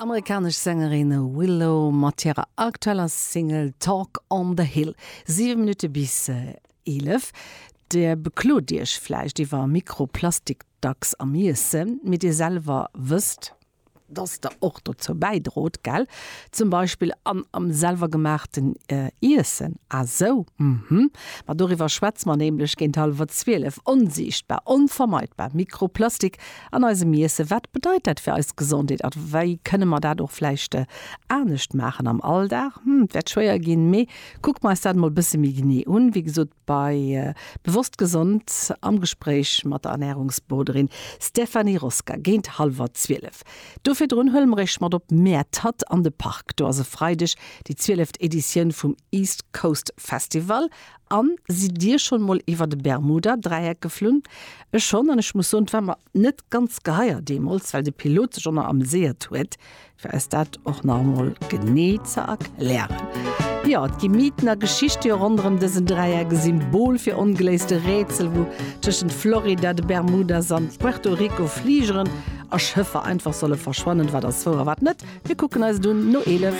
Amerikanesch Sängerin Willow mat hirer aktueller Single Talk on the Hill. 7 Minutte bis 11. Dir beklot Iech vläicht iwwer Mikroplastik dacks am Iessen, mee Dir selwer wësst, dass der och dozou bäidrot, gell? Zum Beispill an am selwergemaachten Iessen. Ah sou, mhm. Ma doriwwer schwätze mer nämlech géint hallwer 12. Onsiichtbar, onvermeidbar Mikroplastik an eisem Iesse. Wat bedeit dat fir eis Gesondheet a wéi kënne mer dat och vläicht anescht maachen am Alldag? Hm, et wäert schwéier ginn, mee kucke mer eis dat emol e bësse méi genee un. Wéi gesot, bei Bewosst Gesond am Gespréich mat der Ernärungsberoderin Stéphanie Rosca géint hallwer 12. Do virdrun huele mer iech mat op Mäertert an de Park. Do ass e Freideg déi zwieleft Editioun vum East Coast Festival. An sidd dir schonn mol iwwer de Bermuda-Dräieck geflunn? Ech schonn, an ech muss soen, et war mer net ganz geheier deemools, well de Pilot sech och nach ameséiert huet, fir eis dat och nach emol genee ze erklären. Jo, et gi Mythen a Geschichte ronderëm dësen Dräieck, e Symbol fir ongeléiste Rätsel, wou tëschent Florida, de Bermudas an Puerto Rico Fligeren a Schëffer einfach solle verschwannen. Wat ass wouer a wat net? Mir kucken eis et un no 11.